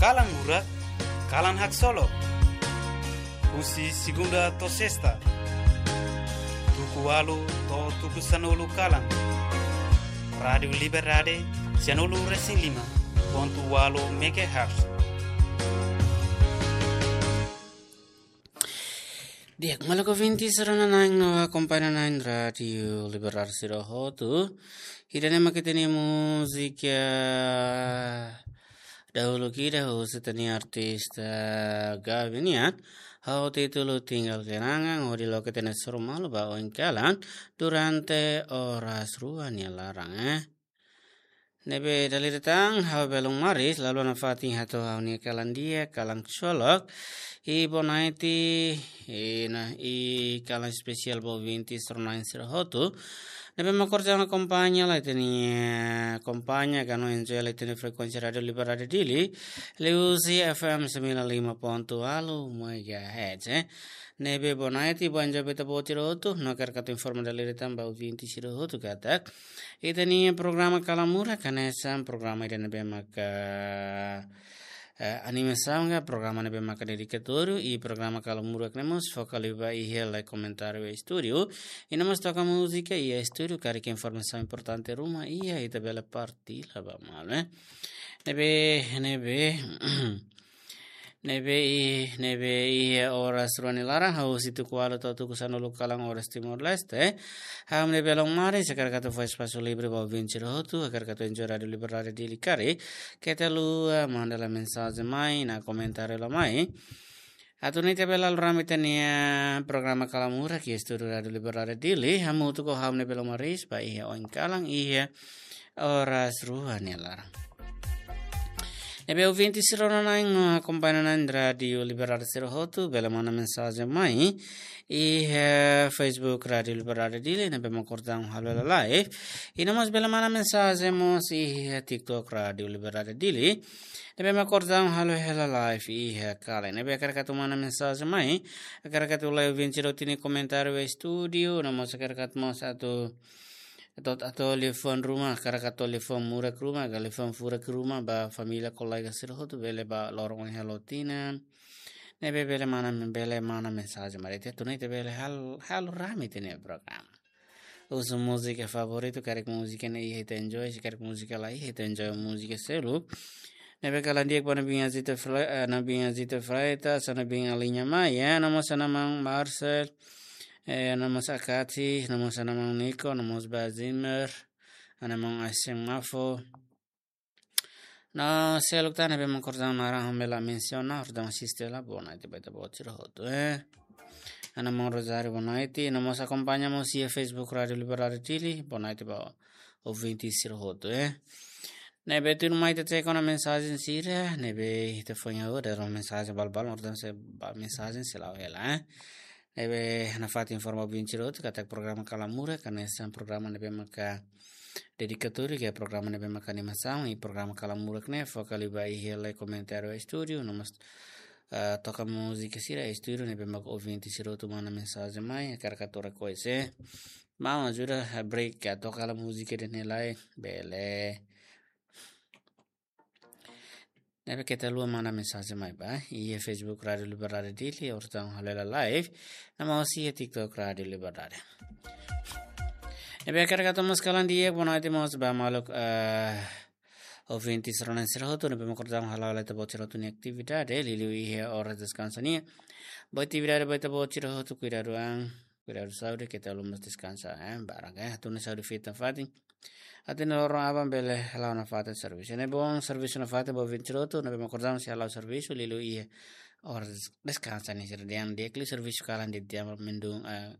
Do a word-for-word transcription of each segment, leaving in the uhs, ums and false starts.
Kalan Murak, kalan haksolok. Husi segunda to'o sesta, tuku ualu to'o tuku sanulu kalan. Rádiu Liberdade, sanulu resin lima pontu ualu megahertz. Di'ak, maluk ouvinte sira-ne'e no akompaña na'in Rádiu Liberdade sira hotu. Ida-ne'e mak ita-nia múzika dahuluk ida husi ita-nia artista Gaby nian, ho títulu Tinggal Kenangan, hodi loke ita-nia sorumalu ba oin kalan durante oras rua nia laran, eh. Ne'ebé dala ida tan, ha'u Belun Maris, halo nafatin hato'o ha'u-nia kalan di'ak, kalan haksolok, i bonaiti, i na, i kalan espesiál ba ouvinte sira-ne'e sira hotu. Ne'ebé mak orsida akompaña lai ita-nia, akompaña ka no enjoy lai ita-nia frekuénsia Rádiu Liberdade Dili, liuhusi F M sembilan lima pontu ualu megahertz, eh. Ne'ebé bonaiti, boa enjoy ba ita-boot sira hotu, no hakarak atu informa dala ida tan ba ouvinte sira hotu katak ita-nia programa Kalan Murak hanesan programa ida ne'ebé maka, eh, animasaun ka programa ne'ebé maka dedikatóriu, i programa Kalan Murak ne'e mós foka liu ba iha lai komentáriu iha estúdiu. I no mós toka múzika iha estúdiu, karik informasaun importante ruma iha, ita bele partilla ba malu, eh. Ne'ebé, ne'ebé, ne'ebé i, ne'ebé iha oras rua nia laran, husi tuku ualu to'o tuku sanulu kalan oras Timor-Leste. Ha'u ne'e Belun Maris, hakarak atu fó espasu livre ba ouvinte sira hotu, hakarak atu enjoy Rádiu Liberdade Dili karik keta haluha manda lai mensajen mai, no komentáriu lai mai. Atu nune'e ita bele halo rame ita-nia programa Kalan Murak iha estúdiu Rádiu Liberdade Dili, hamutuk ho ha'u ne'e Belun Maris, ba iha oin kalan iha oras rua nia laran. Ne'ebé ouvinte sira-ne'e no akompaña na'in Rádiu Liberdade sira hotu, bele manda mensajen mai iha Facebook Rádiu Liberdade Dili, ne'ebé mak orsida halo hela live. I no mós bele manda mensajen mós iha TikTok Rádiu Liberdade Dili, ne'ebé mak orsida halo hela live iha kalan. Ne'ebé hakarak atu manda mensajen mai, hakarak atu lai ouvinte sira hotu-nia komentáriu iha estúdiu, no mós hakarak atu mós atu, atu, atu liafuan ruma, hakarak atu liafuan murak ruma, ka liafuan furak ruma ba família, kolega sira hotu, bele ba loron ohin halo tinan. Ne'ebé bele manda, bele manda mensajen mai, ita atu nune'e ita bele hal-, halo rame ita-nia programa. Husu múzika favoritu, karik múzika ne'e iha ita enjoy, se karik múzika la iha ita enjoy múzika seluk. Ne'ebé kalan di'ak ba Ana Binha Zita Fre-, eh, Ana Binha Zita Freitas, Ana Binha Liña Maia, no mós Ana Maun Marcel, eh, no mós Akati, no mós Ana Maun Niko, no mós Ba Zimmer, Ana Maun Aiseng Mafo. No seluk tan ne'ebé mak orsida naran ha'u la mensiona, orsida asiste la, bonaiti ba ita-boot sira hotu, eh. Ana Maun Rosario, bonaiti, no mós akompaña mós iha Facebook Rádiu Liberdade Dili, bonaiti ba ouvinte sira hotu, eh. Ne'ebé tuirmai ita teka ona mensajen sira, ne'ebé ita foin ha'u dala mensajen balbal, orsida sei ba mensajen sei la'o hela, eh. Ne'ebé nafatin informa ouvinte sira hotu katak programa Kalan Murak hanesan programa ne'ebé maka dedikatóriu, ka programa ne'ebé maka animasaun, i programa Kalan Murak ne'e foka liu ba iha lai komentáriu iha estúdiu, no mós, eh, toka múzika sira iha estúdiu, ne'ebé maka ouvinte sira hotu manda mensajen mai, hakarak atu request, eh. Maun ajuda, eh, break, ka toka lai múzika ida-ne'e lai, bele. Ne'ebé keta haluha manda mensajen mai ba iha Facebook Rádiu Liberdade Dili, orsida halo hela live, no mós iha TikTok Rádiu Liberdade. Ne'ebé hakarak atu mós kalan di'ak, bonaiti mós ba maluk, eh, ouvinte sira-ne'e sira hotu, ne'ebé mak orsida halo hela ita-boot sira hotu-nia atividade, liuliu iha oras deskansa nian. Boa atividade ba ita-boot sira hotu, kuidadu an, kuidadu saúde, keta haluha mós deskansa, eh, barak, eh, atu nune'e saúde fiar nafatin. Atu nune'e loron aban bele hala'o nafatin servisu. Ne'e bom servisu nafatin ba ouvinte sira hotu, ne'ebé mak orsida sei hala'o servisu, liuliu iha oras deskansa nian sira dehan di'ak liu servisu kalan di'ak, mendung, eh,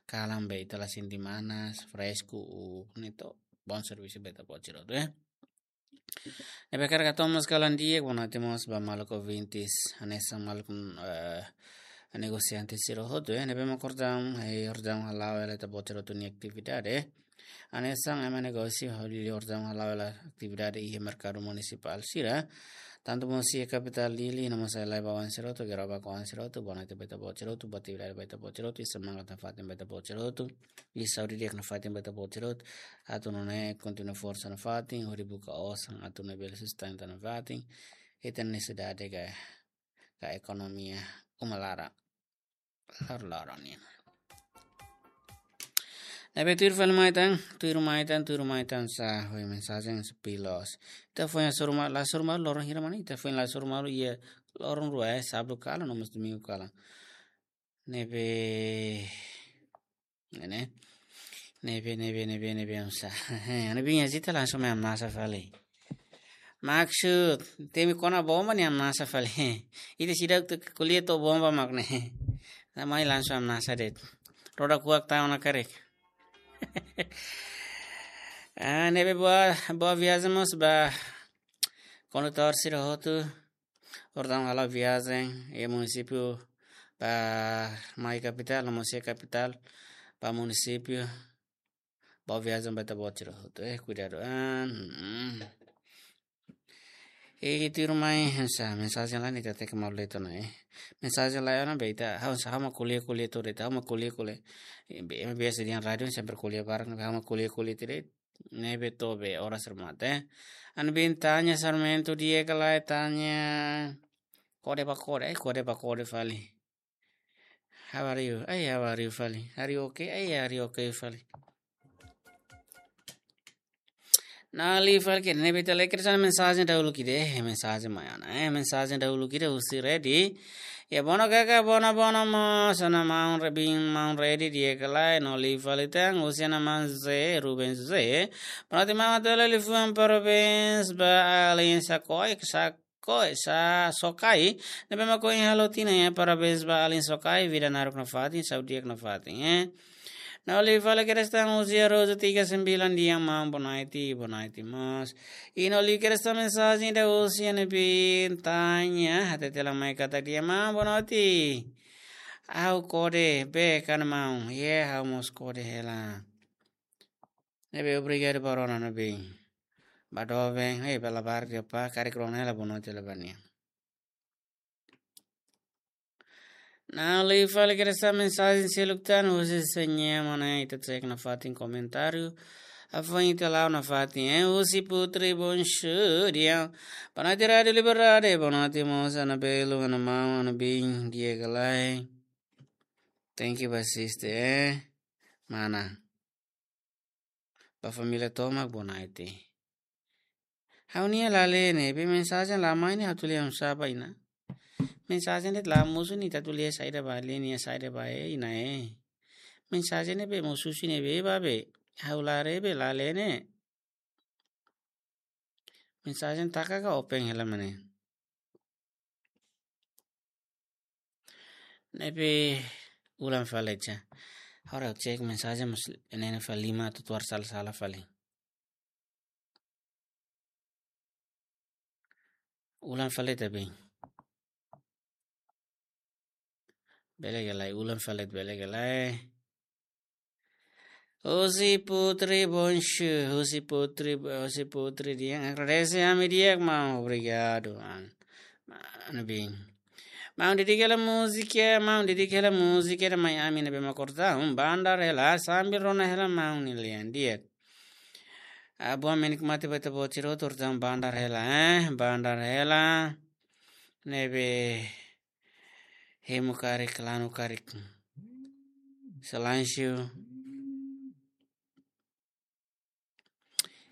kalan be ita la sente manas, fresku, u, ne'e to'o bom servisu ba ita-boot sira hotu, eh. Ne'ebé hakarak atu mós kalan di'ak, bonaiti mós ba maluk ouvintes, hanesan maluk, eh, negosiante sira hotu, eh, ne'ebé mak orsida, eh, orsida hala'o hela ita-boot sira hotu-nia atividade. Hanesan ema negósiu hodi orsida hala'o hela atividade iha merkadu munisipál sira. Tantu mós iha kapitál Dili, no mós iha lai ba oan sira hotu, Geroba ka oan sira hotu, bonaiti ba ita-boot sira hotu, boa atividade ba ita-boot sira hotu, i semangat nafatin ba ita-boot sira hotu. I saúde di'ak nafatin ba ita-boot sira hotu. Atu nune'e kontinua forsa nafatin, hodi buka osan, atu nune'e bele sustenta nafatin. ita-nia sosiedade ka, ka ekonomia uma laran, laran-laran nian. Ne'ebé tuir fali mai tan, tuir mai tan, tuir mai tan sá, hoi mensajen sepuluh. Ita foin la hasoru malu, la hasoru malu loron hira mak ne'e, ita foin la hasoru malu iha loron rua, eh, sábadu kalan, no mós domingu kalan. Ne'ebé, ne'e, ne'ebé, ne'ebé, ne'ebé, ne'ebé, oinsá. Ha'u-nia biin, ita langsung mai hamnasa fali. Maksud, temi kona bomba ne'e hamnasa fali. Ita seidauk ko'alia to'o bomba mak ne'e. Ita mai langsung hamnasa de'it. Roda kuak tau ona karik. Ah, ne'ebé boa, boa viajen mós ba kondutór sira hotu. Portantu, halo viajen iha munisípiu ba mai kapitál, no mós iha kapitál ba munisípiu. Boa viajen ba ita-boot sira hotu, eh, kuidadu an. Mm. I tuir mai, oinsá, mensajen lae ne'e ita tenke malu de'it ona, eh. Mensajen lae ona be ita, ha'u, ha'u mak ko'alia, ko'alia tuir ita, ha'u mak ko'alia, ko'alia. Eh, be, ema biasa dehan rádiu sempre ko'alia barak, ha'u mak ko'alia, ko'alia tuir ita. Ne'ebé to'o be oras remata, eh. Ha'u-nia biin Tanya Sarmento di'ak ka lae, Tanya. Kode ba kode, eh, kode ba kode fali. How are you? Ai, how are you fali? Are you okay? Ai, are you okay fali? Nali fali ke ne'ebé ita lee kedas mensajen dahuluk ida, eh, mensajen mai ona, eh, mensajen dahuluk ida husi Redi. Ya, bono kaka, bono, bono mós, ha'u-nia maun Re-, biin maun Redi di'ak ka lae, no liu fali tan, husi ha'u-nia maun Ze, Ruben Ze. Bonoite maun, hato'o hela liafuan parabéns ba alin Sakoe, Sakoe, sa, Sokai. Ne'ebé mak ohin halo tinan, ya, parabéns ba alin Sokai, vida naruk nafatin, saúde di'ak nafatin, eh. No liu fali kedas tan husi Rosa tiga sembilan di'ak maun, bonoite, bonoite mós. I no liu kedas tan mensajen ida husi ha'u-nia biin Tanya, hatete lai mai katak di'ak maun, bonoite. Ha'u kode, be kan maun, ye ha'u mós kode hela. Ne'ebé obrigadu ba rona ha'u-nia biin. Ba doben, eh, ba labarik de'it, karik rona hela bonoite hela ba nia. No liu fali kedas tan mensajen seluk tan husi Señema ne'e, ita cek nafatin komentáriu. Hafoin ita la'o nafatin, eh, husi Putri Bonsu di'ak. Bonoite Rádiu Liberdade, bonoite mós ha'u-nia belun, ha'u-nia maun, ha'u-nia biin di'ak ka lae. Thank you ba asiste, eh. Mana. Ba família tomak bonoite. Ha'u-nia la lee ne'e, be mensajen la mai ne'e ha'u atu lee oinsá ba iha ne'e. Mensajen de'it la mosu ne'e ita atu lee saida ba, lee nia saida ba iha ne'e. Mensajen ne'e be mosu husi ne'ebé ba be. Ha'u la lee be la lee ne'e. Mensajen taka ka open hela mak ne'e. Ne'ebé ulang fali ja. Agora ha'u cek mensajen mós ne'e fali lima atu tuar sala-sala fali. Ulang fali ita biin. Bele ka lae, ulang fali, bele ka lae. Husi Putri Bonsu, husi Putri, husi Putri di'ak, agradese ami di'ak maun, obrigadu, an. Maun biin. Maun dedika hela múzika, maun dedika hela múzika ida mai ami ne'ebé mak korta, um, bandar hela, sambil rona hela maun nia lian di'ak. Ah, boa menikmati ba ita-boot sira hotu, korta bandar hela, eh, bandar hela. Ne'ebé hemu karik, lanu karik. Silénsiu.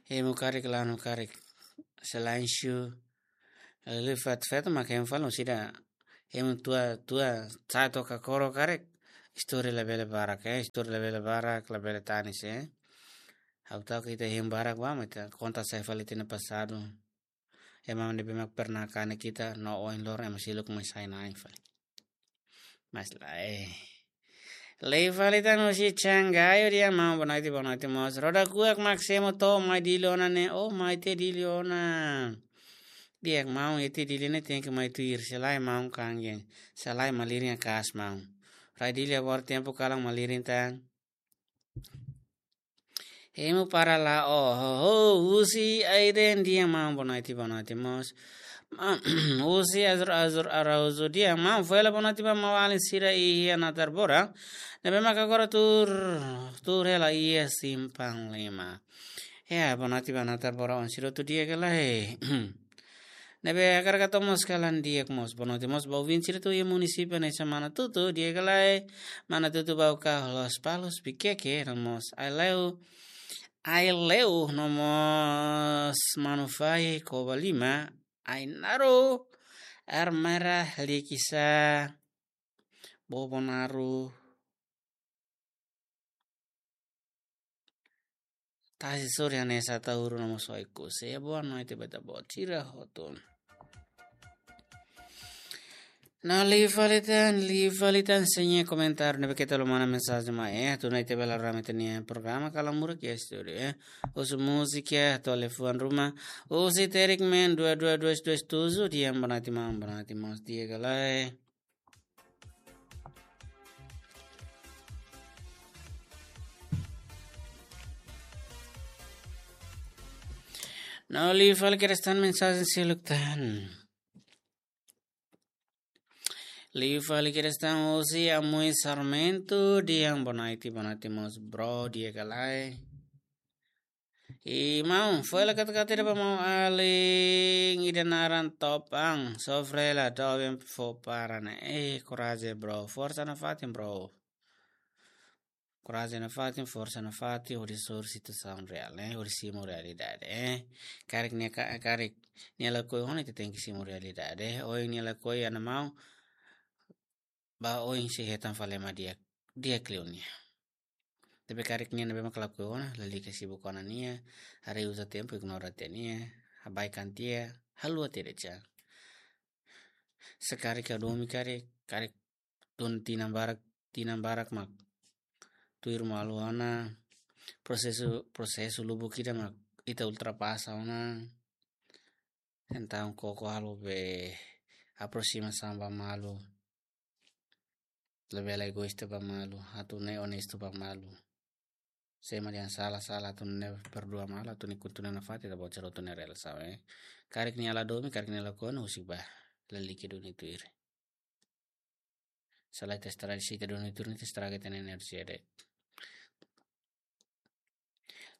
Hemu karik, lanu karik. Silénsiu. Lili fat-fat mak hemu fali, sida hemu tua, tua, sa'e to'o kakoro karik. Istori labele barak, eh. Istori labele barak, labele tanis, eh. Ha'u ta'uk ita hemu barak ba, mak ita konta sai fali ita-nia pasadu. Ema ne'ebé mak pernah kanek ita no ohin loron ema seluk mai sai na'in fali. Mas lae. Liu fali tan husi Changayo di'ak maun, bonoite, bonoite mós. Roda kuak mak semo to'o mai Dili ona ne'e, oh mai tiha Dili ona. Di'ak maun, iha tiha Dili ne'e tenke mai tuir, se lae maun kangen, se lae malirin akas maun. Rai Dili agora tempu kalan malirin tan. Hemu para la'o, oh, oh, husi Aiden di'ak maun, bonoite, bonoite mós. Ma-, husi Azur, Azur Araújo di'ak maun, fó hela bonoite ba maun-alin sira iha Natarbora. Ne'ebé maka agora tuur, tuur hela iha Simpang Lima. Ya, bonoite ba Natarbora, oan sira hotu di'ak ka lae. Ne'ebé hakarak hato'o mós kalan di'ak mós. Boa noite mós ba ouvinte sira hotu iha munisípiu hanesan Manatutu, di'ak ka lae, Manatutu, Baucau, Lospalos, Viqueque, no mós Aileu, Aileu, no mós Manufahi, Covalima, Ainaro, Ermera, Likisá, Bobonaro, Tasi Sorin hanesan Ataúro no mós Oekusi. Boa noite ba ita-boot sira hotu. No liu fali tan, liu fali tan, se nia komentáriu ne'ebé keta lomana mensajen mai, eh, atu nune'e ita bele rame ita-nia programa Kalan Murak iha estúdiu, eh. Husu múzika, atu halo liafuan ruma. Husi Terik Men dua dua dua dua tujuh, di'ak, boa noite maun, boa noite mós, di'ak ka lae. No liu fali kedas tan mensajen seluk tan. Liu fali kedas tan husi Amui Sarmento, di'ak, boa noite, boa noite mós bro, di'ak ka lae. I maun, foin hela katak-katak ida ba maun alin ida naran Topang, sofre hela doben fó para ne'e. Eh, korajen bro, forsa nafatin bro. Korajen nafatin, forsa nafatin, hodi soru situasaun reál, eh, hodi simu realidade, eh. Karik nia ka-, karik nia lakohi ona, ita tenke simu realidade, eh. Ohin nia lakohi, ana maun, ba oin sei hetan fali ema di'ak, di'ak liu nia. Tapi karik nia ne'ebé mak lakohi ona, lalika sibuk ona nia, haree uza tempu, ignora tiha nia, abaikan tiha, haluha tiha de'it. Se karik hadomi karik, karik tun tinan barak, tinan barak mak tuir malu ona, prosesu, prosesu lubuk ida mak ita ultrapasa ona. Entaun koko halo be aproximasaun ba malu. Labele egoísta ba malu, atu nune'e onestu ba malu. Se ema dehan sala, sala, atu nune'e perdua malu, atu nune'e kontinua nafatin, ita-boot sira hotu nia relasaun, eh. Karik nia la domin, karik nia lakohi ona, husik bá, lalika duni tuir. Se la ita estraga, se ita duni tuir, ita estraga ita-nia enerjia de'it.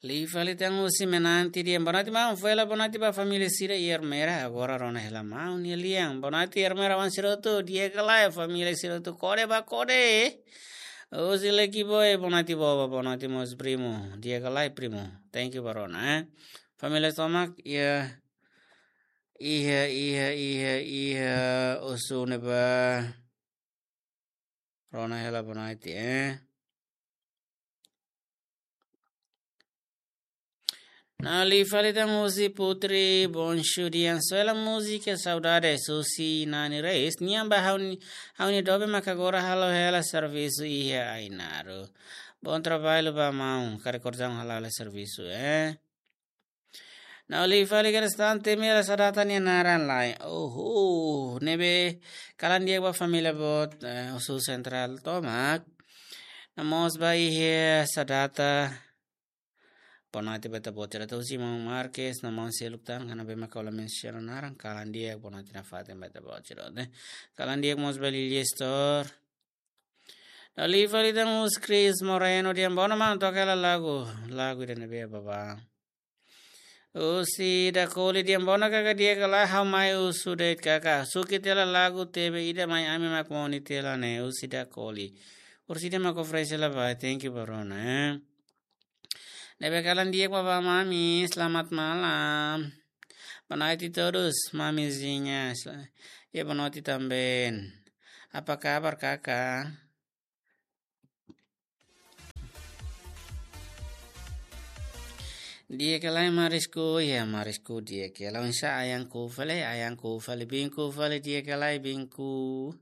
Liu fali tan husi Menanti, di'ak, boa noite maun, foin hela boa noite ba família sira iha Ermera, agora rona hela maun nia lian. Boa noite Ermera-oan sira hotu, di'ak ka lae, família sira hotu, kode ba kode. Husi Lekiboi, boa noite boba, boa noite mós primu, di'ak ka lae primu. Thank you ba rona, eh. Família tomak, iha, iha, iha, iha, iha, husu ne'ebá. Rona hela boa noite, eh. No liu fali tan husi Putri Bonsu, di'ak, soe hela múzika Saudade, husi Nani Reis, nian ba ha'u-nia, ha'u-nia doben maka agora halo hela servisu iha Ainaro. Bom trabalho ba maun, karik korjaun halo hela servisu, eh. No liu fali kedas tan, temi hela sá data nia naran lai. Oho, ne'ebé kalan di'ak ba família boot, eh, husi Sentrál tomak. No mós ba iha sá data. Boa noite ba ita-boot sira, atu husi maun Marques, no maun seluk tan, karik ne'ebé maka la mensiona naran, kalan di'ak, boa noite nafatin ba ita-boot sira, eh. Kalan di'ak mós ba Lilia Store. No liu fali tan husi Chris Moreno, di'ak, boa noite maun, toka hela lagu, lagu ida ne'ebé bá. Husi Dakoli, di'ak, boa noite kaka, di'ak ka lae, ha'u mai husu de'it kaka. Suki tiha hela lagu T V ida mai ami mak moni tiha hela ne'e, husi Dakoli. Husi ida mak oferese hela ba, thank you ba rona, eh. Ne'ebé kalan di'ak ba ba mami, selamat malam. Boa noite todos, mamizinha. Sel-, ya, boa noite também. Apa kabar, kaka? Di'ak ka lae Marisku, ya Marisku, di'ak ka lae, oinsá ayahku fali, ayahku fali, biinku fali, di'ak ka lae biinku.